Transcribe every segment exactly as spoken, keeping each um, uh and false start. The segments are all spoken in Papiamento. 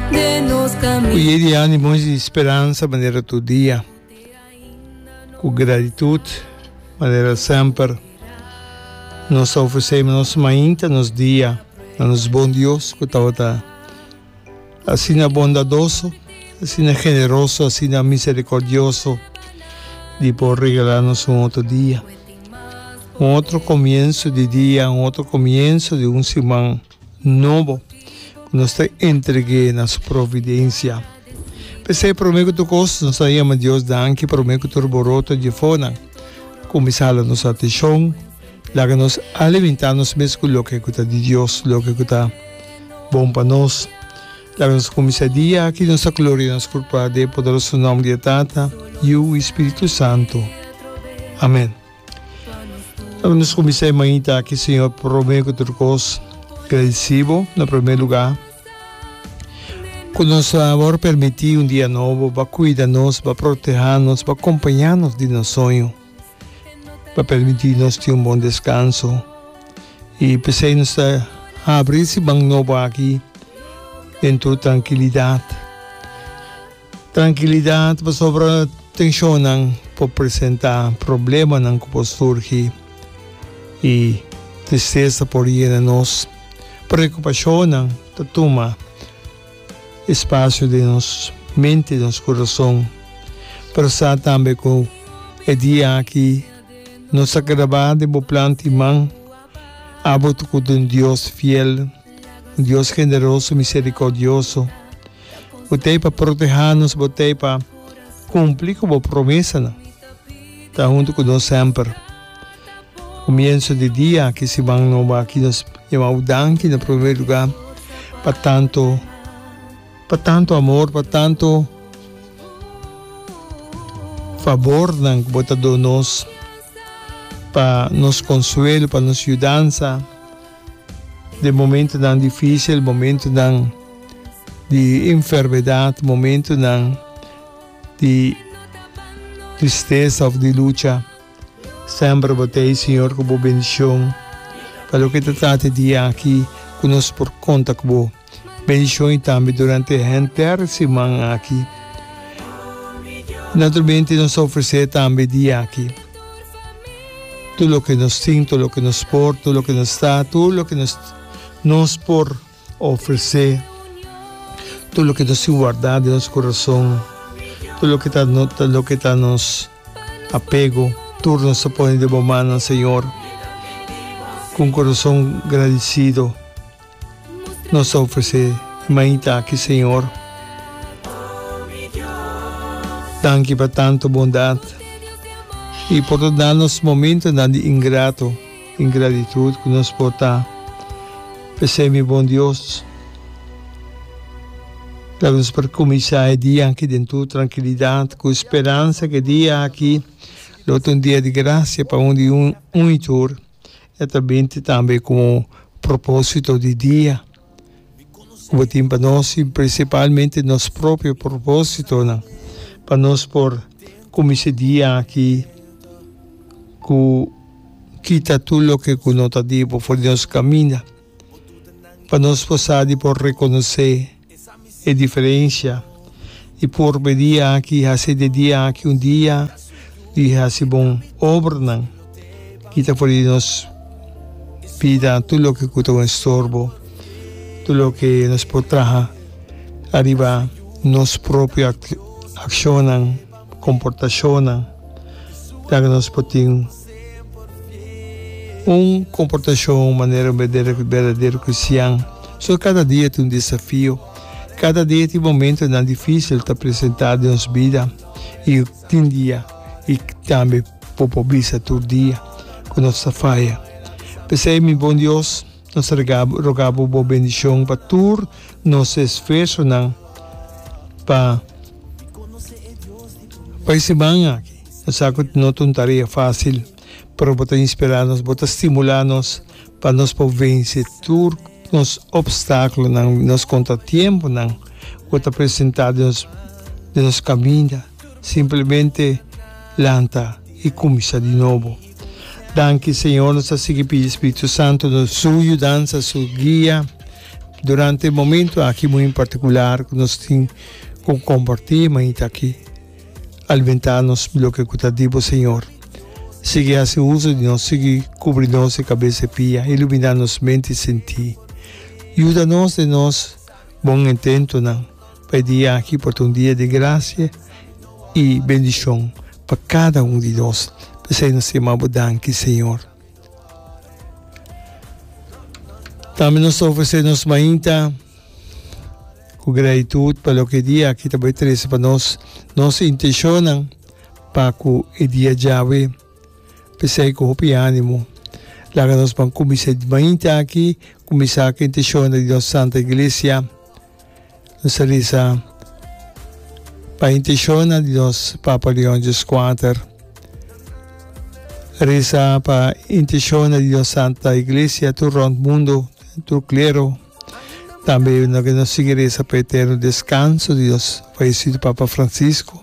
Ku ye di ánimo i speransa manera tur dia, ku gratitut manera semper, nos ta ofresé nos mainta, nos dia na nos bon Dios ku tabata asina bondadoso, asina generoso, asina miserikordioso di por regalá nos un otro dia, un otro komienso di dia, un otro komienso di un siman nobo ku nos ta entreg'é na su providensia. P'esei promé ku tur kos nos ta yama Dios danki promé ku tur boroto dje fonan kuminsá hala nos atenshon, laga nos alimentá nos mes ku loke ku ta di Dios, loke ku ta bon pa nos. Laga nos kuminsá e dia aki nos ta gloria nos kurpa den e poderoso nòmber di e Tata, Yu i Spiritu Santu. Amèn. Laga nos kuminsá e mainta aki, Señor, promé ku tur kos, gradisí Bo na promé lugá ku nos a wòrdu permití un dia nobo pa kuida nos, pa protehá nos, pa kompañá nos di nos soño, pa permití nos tin un bon deskanso. I p'esei nos ta habri e siman nobo aki den tur trankilidat. Trankilidat pasobra tenshonnan por presentá, problemanan ku por surgi i tristesa por yena nos. Preokupashonnan ta tuma espasio den nos mente, nos kurason. Pero sa tambe ku e dia aki nos ta grabá den bo plan di man. Abo ta ku ta un Dios fiel, un Dios generoso, miserikordioso. Bo t'ei pa protehá nos, bo t'ei pa kumpli ku bo promesanan. Ta huntu ku nos semper. Komienso di dia aki, siman nobo aki, nos yama bo danki na promé lugá pa tantu, pa tantu amor, pa tantu fabornan ku bo ta duna nos, pa nos konsuelo, pa nos yudansa. Den momentonan difícil, momentonan di enfermedad, momentonan di tristesa of di lucha, semper bo ta ei, Señor, cu bo bendicion. Pa loke ta trata e dia aki, cu nos por conta cu bo bendicion y tambe durante henter siman aki. Naturalmente nos ta ofrece tambe e dia aki. Tur loke nos tin, tur loke nos por, tur loke nos ta, tur loke nos nos por ofresé, tur loke nos tin wardá den nos kurason, tur loke ta loke ta nos apego, tur nos ta pone den bo mannan, Señor, ku un kurason gradisido. Nos ta ofresé e mainta aki, Señor. Danki pa tantu bondat i por ta da nos momentonan di ingrato, ingratitut ku nos por ta. P'esei, mi bon Dios, laga nos por kuminsá e dia aki den tur trankilidat, ku speransa ku e dia aki lo ta un dia di grasia pa un di un i tur. E ta binti tambe komo propósito di dia ku bo tin pa nos i prinsipalmente nos propio propósitonan pa nos por kuminsá e dia aki ku kita tur loke ku no ta di bo for di nos kaminda pa nos por sa di por rekonosé e diferencia y por e dia aki haci di e dia aki un dia di haci bon obranan kita for di nos bida tur loke cu ta un estorbo tur loke nos por traha ariba nos propio accionnan comportacionnan ya cu nos por tin un comportacion manera un berdadero cristian. So cada dia tin un desafio, cada dia tin momentonan dificil ta presenta den nos bida y tin dia y tambe bo por bisa tur dia cu nos ta faya. P'esey mi bon Dios, nos ta roga bo bo bendicion pa tur nos esfuerzonan pa pa e siman aki. Nos sa ku no ta un tarea fásil, pero bo ta inspirá nos, bo ta stimulá nos pa nos por vense tur nos opstákulonan, nos kontratiemponan ku ta presentá den nos den nos kaminda. Simplemente lanta i kuminsá di nobo. Danki Señor, nos ta sigui pidi Spiritu Santu su yudansa, su guia. Durante e momento aki muy en particular cu nos tin cu comparti mainta aki, alimenta nos loke cu ta di bo, Señor. Sigui haci uso di nos, sigui cubri nos di cabeza y pia, ilumina nos mente y senti. Yuda nos den nos bon intentonan pa e dia aki por ta un dia di gracia y bendicion pa cada un di nos. P'esey nos ta yama bo danki, Señor. Tambe nos ta ofresé nos mainta ku gratitut pa loke e dia aki ta bai trese pa nos, nos intenshonnan pa ku e dia djawe. P'esei ku hopi ánimo, laga nos ban kuminsá e mainta aki, kuminsá ku e intenshonnan di nos Santa Iglesia. Nos a resa pa intenshonnan di nos Papa Leon Dieskuater. Resa pa intenshonnan di nos Santa Iglesia tur rònt mundu, tur klero. Tambe nos sigui resa pa eterno deskanso di nos fayesido Papa Francisco.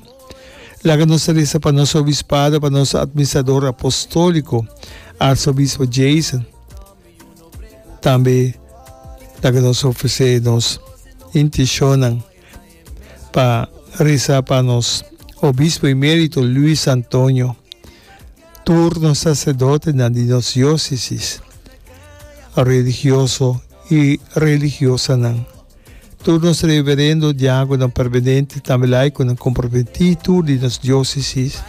Laga nos resa pa nos obispado, pa nos administrador apostóliko, Arzobispo Jason. Tambe laga nos ofresé nos intenshonnan pa resa pa nos Obispo Emérito Luis Antonio, tur nos saserdotenan di nos diósesis, religioso i religiosanan, tur nos reverendo, diákononan permanente, tambe laikonan komprometí, tur di nos diósesis,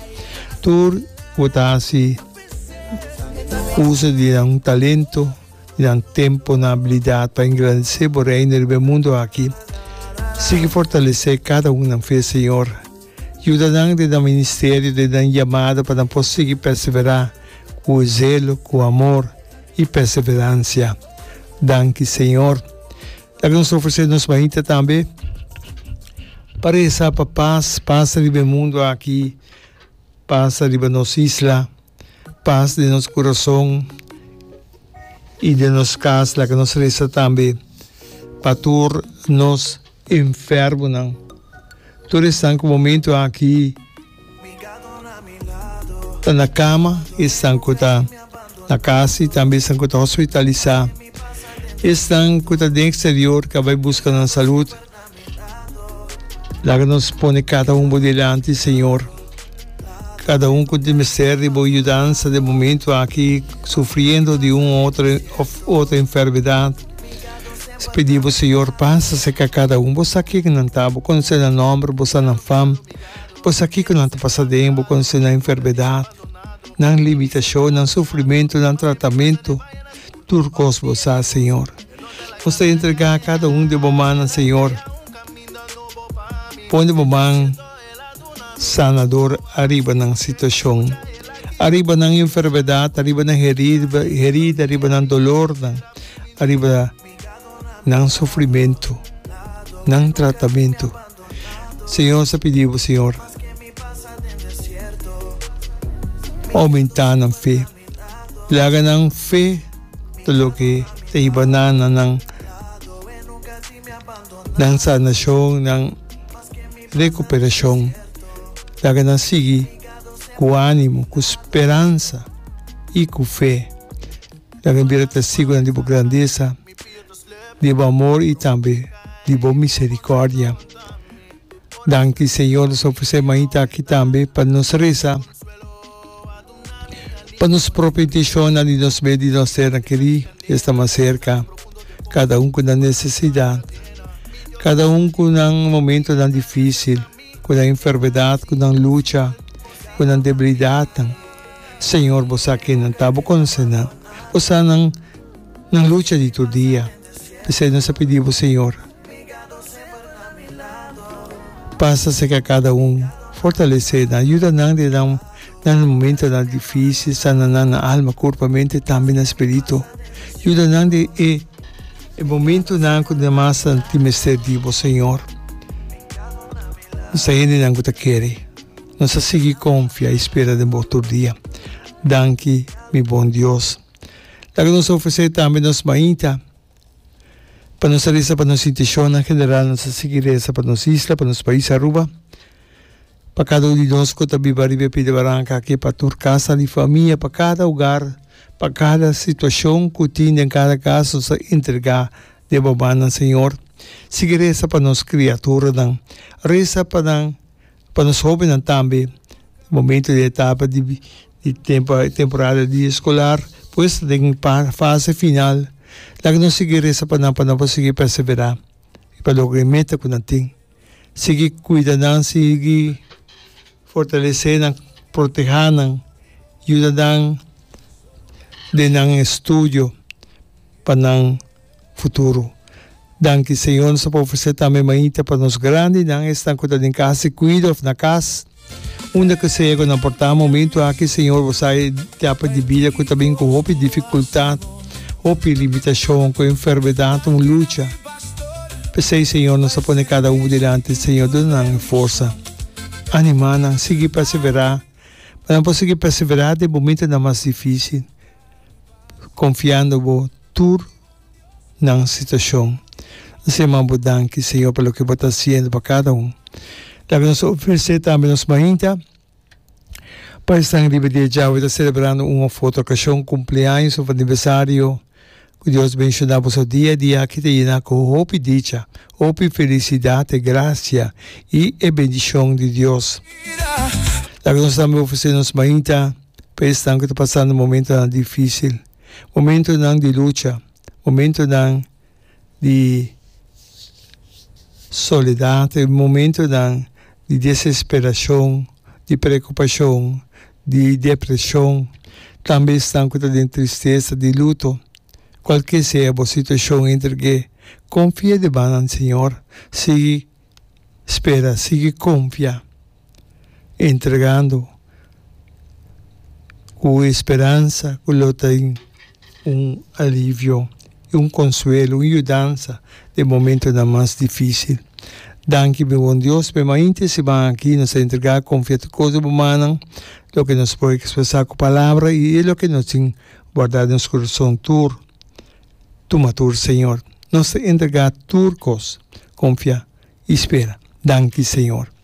tur ku ta hasi uso di nan talento, di nan tempo, nan abilidat pa engrandesé bo Reino riba e mundu aki. Sigui fortalesé kada un nan fe, Señor. Yuda nan den nan ministerio, den nan yamada pa nan por sigui perseverá ku zelo, ku amor i perseveransia. Danki, Señor. Laga nos ofresé nos mainta tambe pa resa pa pas, pas riba e mundu aki, pas riba nos isla. Pas den nos kurason i den nos kas. Laga nos resa tambe pa tur nos enfermonan, tur esnan ku momentu aki ta na kama, esnan ku ta na kas i tambe esnan ku ta hospitalisá, esnan ku ta den eksterior ku a bai buska nan salud. Laga nos pone kada un bo dilanti, Señor. Kada un ku tin mester di bo yudansa den momento aki, sufriendo di un otro of otro enfermedad. Nos pidi bo, Señor, pasa serka kada un. Bo sa kiko nan ta, bo konosé nan nomber, bo sa nan fam, bo sa kiko nan ta pasa den, bo konosé nan enfermedad, nan limitashon, nan sufrimentu, nan tratamentu. Tur kos bo sa, Señor. Nos ta entregá kada un den bo mannan, Señor. Pone bo man sanador ariba nan situashon, ariba nan enfermedat, ariba nan herida, ariba nan dolornan, ariba nan sufrimentu, nan tratamentu. Señor, nos ta pidi bo, Señor, oumentá nan fe. Laga nan fe ta loke ta hiba nan na nan nan sanashon, nan rekuperashon. Laga nan sigui ku ánimo, ku speransa i ku fe. Laga nan bira testigunan di bo grandesa, di bo amor i tambe di bo miserikòrdia. Danki, Señor, nos ofresé mainta aki tambe pa nos resa. Pa nos propio intencionnan di nos mes di nos sernan kerí esta mas cerca, cada un cu nan necesidad, cada un cu nan momentonan dificil, cu nan enfermedad, cu nan lucha, cu nan debilidadnan. Señor, bo sa kennan ta, bo conoce nan, bo sa nan nan lucha di tur dia. P'esei nos a pidi bo, Señor, pasa serka kada un, fortalesé nan, yuda nan den nan nan momentonan difísil, sana nan na alma, kurpa, mente, tambe na spiritu. Yuda nan den e e momentonan ku nan mas nan tin mester di bo, Señor. Nos ta hendenan ku ta kere. Nos ta sigui konfia i spera den bo tur dia. Danki, mi bon Dios. Laga nos ofresé tambe nos mainta pa nos a resa pa nos intishonnan general, nos a sigui resa pa nos isla, pa nos pais Aruba, pa kada un di nos ku ta biba riba e pida baranka aki, pa tur kasa di famia, pa kada hogar, pa kada situashon ku tin den kada kas, nos a entregá Den bo mannan, Señor. Sigui resa pa nos criaturanan. Resa pa nan, pa nos hobennan tambe. Momento di etapa di di tempo, temporada di escolar, pues den fase final. Laga nos sigui resa pa nan, pa nan por sigui persevera y pa logra e meta cu nan tin. Sigui cuida nan, sigui fortalece nan, proteha nan, yuda nan den nan estudio pa nan futuro. Danki Señor, nos ta por ofrece tambe mainta pa nos grandinan, esnan cu ta den cas di cuido of na cas, unda cu sea cu nan por ta momento aki. Señor, bo sa e etapa di bida cu ta bin cu hopi dificultad, hopi limitacion, cu enfermedad, un lucha. P'esey, Señor, nos ta pone cada un dilanti. Señor, duna nan e forsa, anima nan, sigui persevera, pa nan por sigui persevera den momentonan mas dificil, confiando bo tur nan situacion. Nos yama bo danki, Señor, pa loke bo ta haciendo pa cada un. Laga nos ofrece tambe nos mainta pa esnan riba dia djawe ta celebrando un of otro ocasion, cumpleaños of aniversario. Cu Dios benciona boso dia a dia aki ta yena cu hopi dicha, hopi felicidad, e gracia y e bendicion di Dios. Laga nos tambe ofrece nos mainta pa esnan cu ta pasando momentonan dificil, momentonan di lucha, momentonan di soledad, e momentonan di desesperacion, di preocupacion, di depresion, tambe esnan cu ta den tristesa, di luto. Cualke sea bo situacion, entreg'é, confia den banan Señor, sigui spera, sigui confia, entregando cu e speransa cu lo tin un alivio y un consuelo, un yudansa den momentonan mas dificil. Danki mi bon Dios p'e mainta e siman aki. Nos ta entrega, confia tur cos den bo mannan, loke nos por expresa cu palabra y e loke nos tin guarda den nos corazon tur. Tuma tur, Señor. Nos ta entrega tur cos, confia y spera. Danki, Señor.